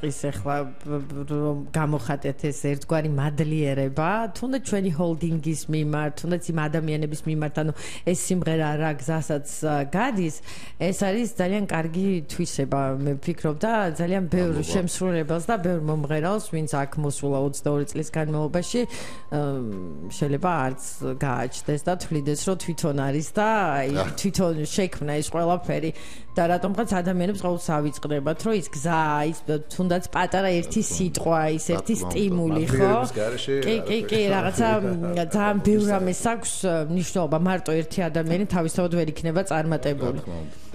ის ახლა რომ გამოხატეთ ეს ერთგვარი მადლიერება, თუნდაც ჩვენი ჰოლდინგის მიმართ, თუნდაც იმ ადამიანების მიმართ, ანუ ეს სიმღერა რა გზასაც გადის, ეს არის ძალიან კარგი თვისება, მე ვფიქრობ და ძალიან ბევრ შემსრულებელს და ბევრ მომღერალს, ვინც აქ მოსულა 22 წლის განმავლობაში, შეიძლება არც გააჩნდეს და თვლიდეს, რომ თვითონ არის და თვითონ შექმნა ეს ყველაფერი და რატომღაც ადამიანებს ყოველთვის ავიწყდებათ, რომ ის გზა, ის თუნდაც პატარა ერთი სიტყვა, ის ერთი სტიმული, ხო? კი, რაღაცა ძალიან ბევრ რამეს აქვს მნიშვნელობა, მარტო ერთი ადამიანი თავისთავად ვერ იქნება წარმატებული.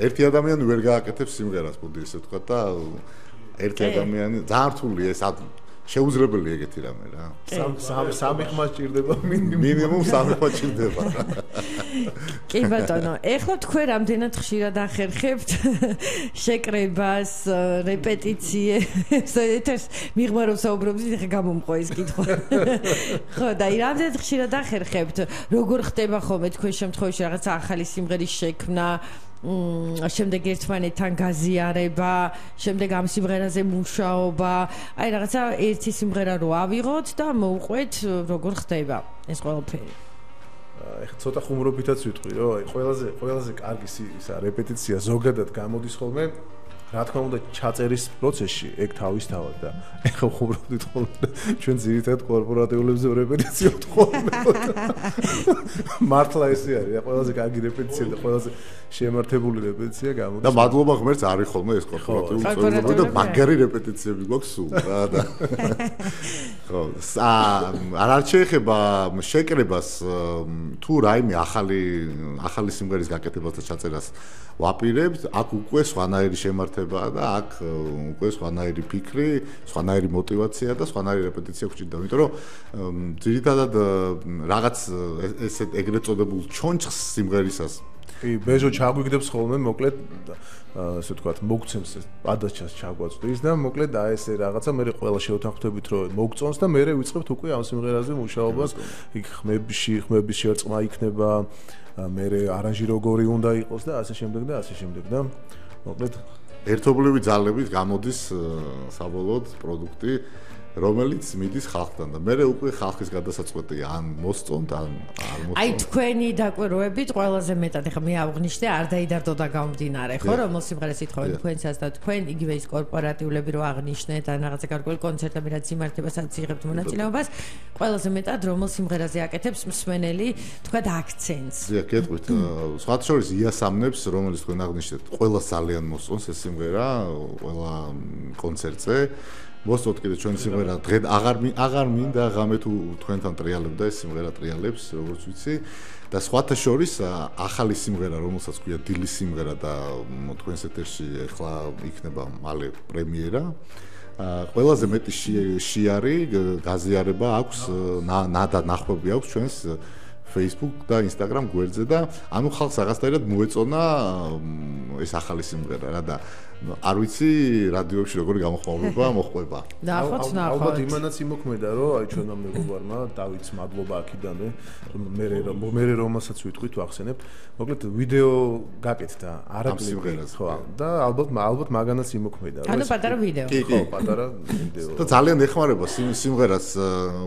ერთი ადამიანი ვერ გააკეთებს სიმღერას, მოდი ესე ვთქვა და ერთი ადამიანი ძალიან რთულია ეს შეუძლებელი ეგეთი რამე რა. სამი ხმა სჭირდება მინიმუმ სამი ხმა სჭირდება. კი ბატონო, ეხლა თქვენ რამდენად ხშირად ახერხებთ შეკრებას, რეპეტიციებს, ეთერს მიღმა რომ საუბრობთ, ეხლა გამომყვა ეს კითხვა. ხო, და რამდენად ხშირად ახერხებთ, როგორ ხდება ხოლმე თქვენ შემთხვევაში რაღაცა ახალი სიმღერის შექმნა, შემდეგ ერთმანეთთან გაზიარება, შემდეგ ამ სიმღერაზე მუშაობა, აი რაღაცა ერთი სიმღერა რო ავიღოთ და მოვყვეთ როგორ ხდება ეს ყველაფერი. ეხლა ცოტა ხუმრობითაც ვიტყვი, რომ აი ყველაზე კარგი ისა რეპეტიცია ზოგადად გამოდის ხოლმე, რა თქმა უნდა ჩაწერის პროცესში ეგ თავისთავად და ეხლა ხუმრობდით ხოლმე ჩვენ ძირითადად კორპორატიულებზე რეპეტიციებთ ხოლმე. მართლა ესე არის, ყველაზე კარგი რეპეტიცია და ყველაზე შემართებული რეპეტიცია გამოდის. და მადლობა ღმერთს არის ხოლმე ეს კორპორატიული წვეულები და მაგარი რეპეტიციები გვაქვს სულ რა და. ხო, არ შეეხება შეკრებას თუ რაიმე ახალი სიმღერის გაკეთებას და ჩაწერას ვაპირებთ, აქ უკვე სხვანაირი შემართებაა და აქ უკვე სხვანაირი ფიქრი, სხვანაირი мотиваცია და სხვანაირი რეპეტიცია გვჭირდება, იმიტომ რომ ძირითადად რაღაც ესეთ ეგრეთ წოდებულ ჩონჩხს სიმღერისას კი, ბეჟო ჩაგვიგდებს ხოლმე, მოკლედ ასე ვთქვათ, მოგცემს პადაჩას ჩაგვაწვდის და მოკლედ აი ესე რაღაცა მე ყველა შევთანხმდებით რომ მოგწონს და მე ვიწყებთ უკვე ამ სიმღერაზე მუშაობას, იქ ხმების შერწყმა იქნება, მე არანჟი როგორი უნდა იყოს და ასე შემდეგ და ასე შემდეგ და მოკლედ ერთობლივი ძალებით გამოდის საბოლოოდ პროდუქტი, რომელიც მიდის ხალხთან და მე უკვე ხალხის გადასაწყვეტია ან მოსწონთ ან არ მოსწონთ. აი თქვენი დაკვირვებით ყველაზე მეტად ეხლა მე აღვნიშნე არ დაიდარდო და გამომდინარე, ხო, რომ სიმღერას ითხოვენ თქვენსაც და თქვენ იგივე ის კორპორატიულები რო აღნიშნეთ ან რაღაცა გარკვეული კონცერტები რაც იმართება, სადაც იღებთ მონაწილეობას, ყველაზე მეტად რომელ სიმღერაზე აკეთებს მსმენელი, თქვათ აქცენტს. დიახ, გეტყვით. სხვათა შორის იასამნებს, რომელიც თქვენ აღნიშნეთ, ყველას ძალიან მოსწონს ეს სიმღერა, ყველა კონცერტზე. მოსწონთ კიდე ჩვენი სიმღერა დღე აღარ მინდა ღამე თუ თქვენთან ტრიალებდა ეს სიმღერა ტრიალებს როგორც ვიცი და სხვათა შორის ახალი სიმღერა რომელსაც ქვია დილის სიმღერა და თქვენს ეთერში ახლა იქნება მალე პრემიერა ყველაზე მეტი შიარი გაზიარება აქვს და ნახვები აქვს ჩვენს Facebook და Instagram გვერდზე და ანუ ხალხს რაღაცნაირად მოეწონა ეს ახალი სიმღერა რა და არ ვიცი რადიოებში როგორი გამოხმაურება მოხდება. ნახოთ. ალბათ იმანაც იმოქმედა, რომ აი ჩვენმა მეგობარმა დავითს მადლობა აქიდანვე, მე რომელსაც ვიტყვით ვახსენებ, მოკლედ ვიდეო გაკეთდა არაკლიპი, ხო, და ალბათ მაგანაც იმოქმედა, რომ ანუ პატარა ვიდეო. ხო, პატარა ვიდეო. და ძალიან ეხმარება სიმღერას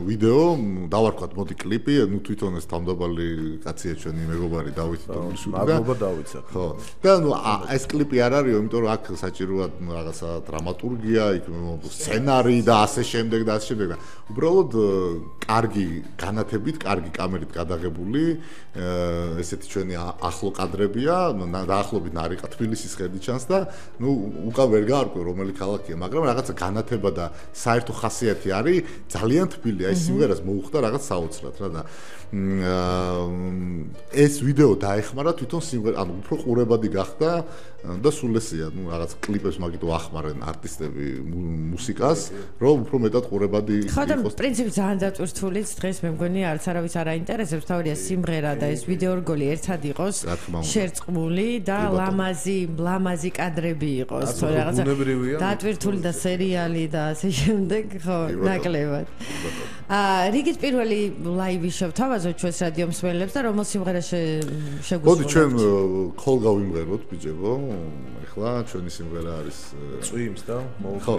ვიდეო, დავარქვათ მოდი კლიპი, ნუ თვითონ ეს თავმდაბალი კაცია ჩვენი მეგობარი დავით დონიშვილი და მადლობა დავითსა. ხო. და ნუ ეს კლიპი არ არისო, იმიტომ რომ აქ საჭიროა რაღაცა დრამატურგია, იქ სცენარი და ასე შემდეგ და ასე შემდეგ. უბრალოდ კარგი განათებით, კარგი კამერით გადაღებული, ესეთი ჩვენი ახლო კადრებია, დაახლოებით ნარიყა თბილისის ხედი ჩანს და ნუ უკან ვერ გაარკვევ რომელი ქალაქია, მაგრამ რაღაცა განათება და საერთო ხასიათი არის ძალიან თბილი. აი სიმღერას მოუხდა რაღაც საოცრად რა და ეს ვიდეო დაეხმარა თვითონ სიმღერა, ანუ უფრო ყურებადი გახდა და სულ ესეა, ნუ რაღაც კლიპებს მაგითო ახმარენ არტისტები მუსიკას, რომ უფრო მეტად ყურებადი იყოს. ხო და პრინციპი ძალიან დაწვრთულიც დღეს მე მგონი არც არავის არ აინტერესებს, თავია სიმღერა და ეს ვიდეო რგოლი ერთად იყოს შერწყმული და ლამაზი კადრები იყოს, ხო რაღაცა დაწვრთული და სერიალი და ასე შემდეგ, ხო, ნაკლებად. რიგით პირველი ლაივი შევთავაზოთ ჩვენს რადიო მსმენელებს და რომელ სიმღერას შეგვიძლია. მოდი ჩვენ ქოლ გავიმღეროთ ბიჭებო, ეხლა ჩვენი სიმღერა არის წვიმს და ხო